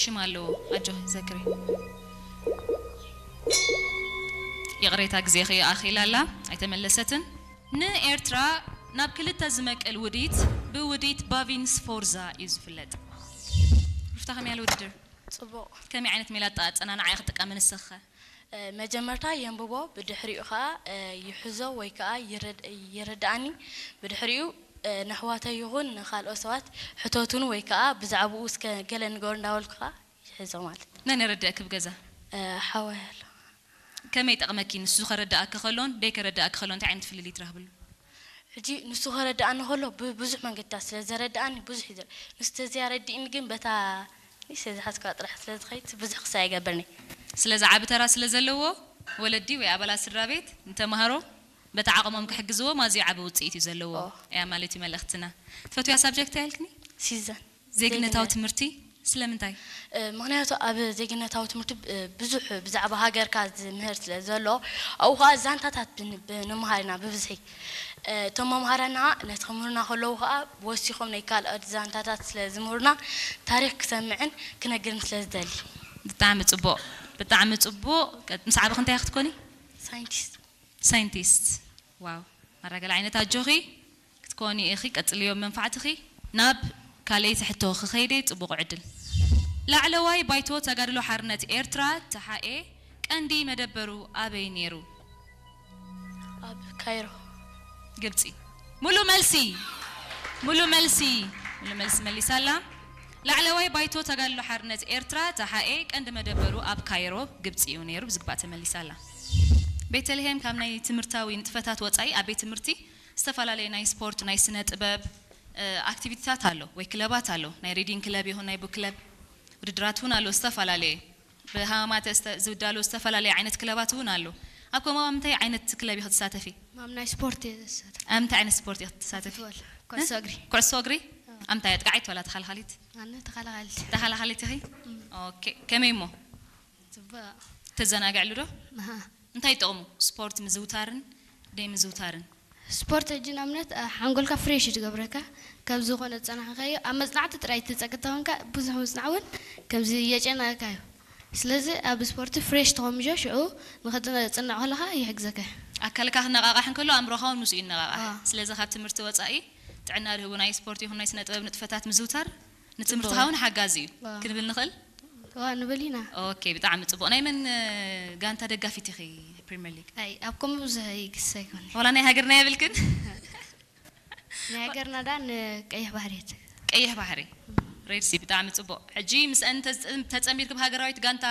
ሽም ኣለዎ። ኣጆኺ ዘክሪ። ይቕሬታ፣ ግዜኺ ኣኺላ ኣላ፣ ኣይተመለሰትን። ንኤርትራ ናብ ክልተ ዝመቅል ውዲት ብውዲት ባቪን ስፎርዛ እዩ ዝፍለጥ። ሩፍታ፣ ከመይ ያለ ውድድር? ጽቡቕ። ከመይ ዓይነት ሜላ ኣጠ-፣ ኣጸናንዓ ኢኺ ትጥቀሚ ንስኺ ኸ? እ፣ መጀመርታ የንብቦ፣ ብድሕሪኡ ኸኣ፣ እ፣ ይሕዞ ወይ ከኣ ይረድ-፣ ይረድኣኒ። ብድሕሪኡ፣ እ፣ ነሕዋተይ ይኹን ንኻልኦት ሰባት ሕተቱኒ ወይ ከኣ ብዛዕባኡ እስከ ገለ ንገሩ እንዳበልኩ ኸኣ ይሕዞ ማለት። መን የረድኣኪ ኣብ ገዛ? እ፣ ሓወይ ኣሎ። ከመይ ይጠቕመኪ ንሱ ከረድኣኪ ከሎን ደይከረድኣኪ ከሎን እንታይ ዓይነት ፍልልይ ትረኽብሉ? ሕጂ ንሱ ከረድኣኒ ከሎ ብብዙሕ መንገድታት ስለ ዘረድኣኒ ብዙሕ እዩ ዘር-፣ ንሱ ተዘይኣረድእኒ ግን በታ ንእሽተይ ዝሓዝኳ ጥራሕ ስለ ዝኸይድ ብዙሕ ክሳይ ኣይገብርኒ። ስለዚ ዓቢ ተራ ስለ ዘለዎ ወለዲ ወይ ኣባላት ስድራ ቤት ንተማሃሮ በቲ ዓቕሞም ክሕግዝዎም ኣዝዩ ዓቢ ውጽኢት እዩ ዘለዎ ኦ። እያ ማለት እዩ መልእኽትና። ትፈትውያ ሳብጀክት እንታይ ኢልክኒ? ሲዘን። ዜግነታዊ ዜግነት። ትምህርቲ ስለምንታይ? እ፣ ምኽንያቱ ኣብ ዜግነታዊ ትምህርቲ ብ-፣ ብዙሕ ብዛዕባ ሃገርካ ዝምህር ስለ ዘሎ፣ ኣብኡ ኸኣ ዛንታታት ብን-፣ ብንምሃር ኢና ብብዝሒ። እ፣ እቶም መምሃራና ነቲ ክምህሩና ከለዉ ኸኣ ወሲኾም ናይ ካልኦት ዛንታታት ስለ ዝምህሩና ታሪኽ ክሰምዕን ክነግርን ስለ ዝደሊ። ብጣዕሚ ጽቡቕ፣ ብጣዕሚ ጽቡቕ። ቀ-፣ ምስ ዓበኺ እንታይ ክትኮኒ? ሳይንቲስት። ሳይንቲስት። ዋው፣ ማራ ገለ ዓይነት ኣጆኺ ክትኮኒ ኢኺ፣ ቀጽልዮ መንፋዕትኺ። ናብ ካልኣይቲ ሕቶ ክኸይደ ጽቡቕ ዕድል። ላዕለዋይ ባይቶ ተጋድሎ ሓርነት ኤርትራ፣ ተሓኤ፣ ቀንዲ መደበሩ ኣበይ ነይሩ? ኣብ ካይሮ። ግብጺ። ሙሉ መልሲ፣ ሙሉ መልሲ፣ ሙሉ መልሲ መሊሳ ኣላ። ላዕለዋይ ባይቶ ተጋድሎ ሓርነት ኤርትራ፣ ተሓኤ፣ ቀንዲ መደበሩ ኣብ ካይሮ፣ ግብጺ እዩ ነይሩ። ብዝግባእ ተመሊሳ ኣላ። ቤተልሄም፣ ካብ ናይ ትምህርታዊ ንጥፈታት ወጻኢ ኣብ ቤት ትምህርቲ ዝተፈላለዩ ናይ ስፖርት፣ ናይ ስነ ጥበብ፣ እ፣ ኣክቲቪቲታት ኣሎ ወይ ክለባት ኣሎ። ናይ ሪዲንግ ክለብ ይኹን ናይ ቡክ ክለብ ውድድራት እውን ኣሎ፣ ዝተፈላለየ። ብሃማማተ ዝተ-፣ ዝዳሎ ዝተፈላለየ ዓይነት ክለባት እውን ኣሎ። ኣብ ከምኡ ኣብ ምንታይ ዓይነት ክለብ ኢኺ ትሳተፊ? ማም ናይ ስፖርት እየ ዝሳተፍ። ኣብ ምንታይ ዓይነት ስፖርት ኢኺ ትሳተፊ? ፉትቦል፣ ኩዕሶ እ? እግሪ። ኩዕሶ እግሪ? ኣዎ። ኣብ ምንታይ፣ ኣጥቃዓይት ዋላ ተኸላኻሊት? ኣነ ተኸላኻሊት። ተኸላኻሊት ኢኺ? እም። ኦኬ። ከመይ እሞ? ጽቡቕ። ተዘናግዕሉ ዶ? ኣሃ። እንታይ ይጠቕሙ? ስፖርት ምዝውታርን ደይ ምዝውታርን? ስፖርት ሕጂ ንኣብነት፣ እ፣ ሓንጎልካ ፍሬሽ እዩ ዝገብረካ። ካብ ዝኾነ ዝጸናሕካዮ ኣብ መጽናዕቲ ጥራይ ትጸቅጥ ተኾንካ ብዙሕ ምጽናዕ እውን ከምዚ የጨንቐካ እዩ። ስለዚ ኣብ ስፖርቲ ፍሬሽ ተኾምጆ ሽዑ ንኽትጽንዕ ከለኻ ይሕግዘካ እዩ። ኣካልካ ክነቓቓሕ እንከሎ ኣእምሮኻ እውን ምስኡ ይነቓቓሕ። ኣዎ። ስለዚ ካብ ትምህርቲ ወጻኢ ጥዕና ዝህቡ ናይ ስፖርት ይኹን ናይ ስነ ጥበብ ንጥፈታት ምዝውታር ንትምህርትኻ ጽቡቕ። እውን ሓጋዚ እዩ ኣዎ። ክንብል ንኽእል? እዋ ንብል ኢና። ኦኬ፣ ብጣዕሚ ጽቡቕ። ናይ መን፣ እ፣ ጋንታ ደጋፊት ኢኺ ፕሪምየር ሊግ? ኣይ፣ ኣብ ከምኡ ብዙሕ ይግስ ኣይኮነ። ዋላ ናይ ሃገርና የብልክን? ናይ ሃገርና ዳ ንቀይሕ ባሕሪ እየ። ቀይሕ ባሕሪ። ሬድሲ፣ ብጣዕሚ ጽቡቕ። ሕጂ ምስአን ተዝ-፣ ተጸሚድኪ ብሃገራዊት ጋንታ